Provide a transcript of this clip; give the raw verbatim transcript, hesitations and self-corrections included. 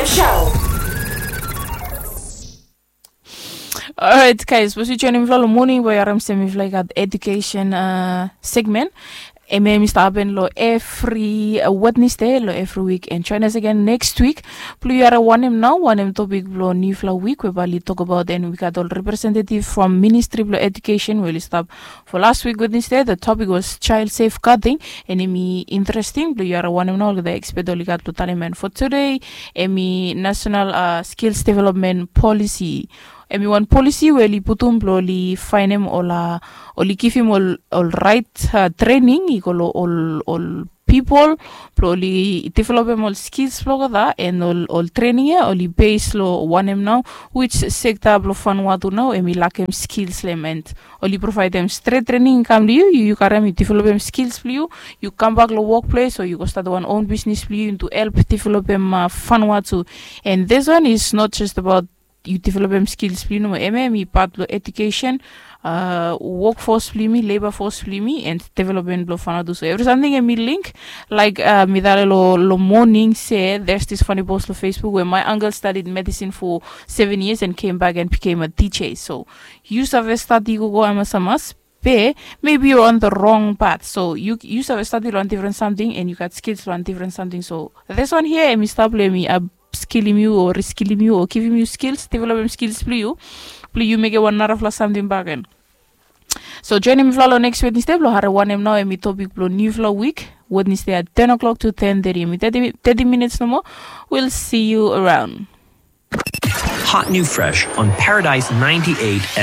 Show. Alright, guys, sapos yu joinim mifala long moning, bae yu harim se mifala i gat education segment. Em ya i stap hapen long evri Wednesday long evri wik, and join us again next week. Blong yu harim wanem nao, wanem topik blong niufala wik we bae oli tokbaot, and we gat ol representative from Ministry blong Education we oli stap for last week Wednesday. The topic was child safeguarding, and em i interesting blong yu harim wanem nao olgeta expert oli gat blong talem. And for today, em i National Skills Development Policy. Em i wan polisi we oli putum blong oli faenem ol, oli givim ol rait trening i go long ol pipol blong oli developem ol skils blong olgeta, and ol trening ya oli base long wanem nao, which sekta blong Vanuatu nao em i lakem skils long hem, and oli provaedem stret trening i kam long yu, yu karim, yu developem skils blong yu, yu kambak long wokples o yu go stat wan own bisnis blong yu, yu tu help developem Vanuatu. And this one is not just about yu developem skils blong yu nomo, em ya em i pat blong education, wokfos blong yumi, leba fos blong yumi, and development blong Vanuatu. So evri samting em i link. Laik mi talem long moning se there's this funny post long Facebook we my uncle studied medicine for seven years and came back and became a DJ. So yu save stadi gogo amasamas, be maybe you're on the wrong path. So yu save stadi long wan difren samting and yu gat skils long wan difren samting. So this one here em i stap long em i upskillim yu o reskillim yu o givim yu skils, developem skils blong yu, blong yu mekem wan narafala samting bakegen. So joinim mifala long next Wednesday blong harim wanem nao em i topik blong niufala wik, Wednesday at ten o'clock to ten thirty, em i thirty minutes nomo. We'll see you around. Hot new fresh on Paradise ninety-eight.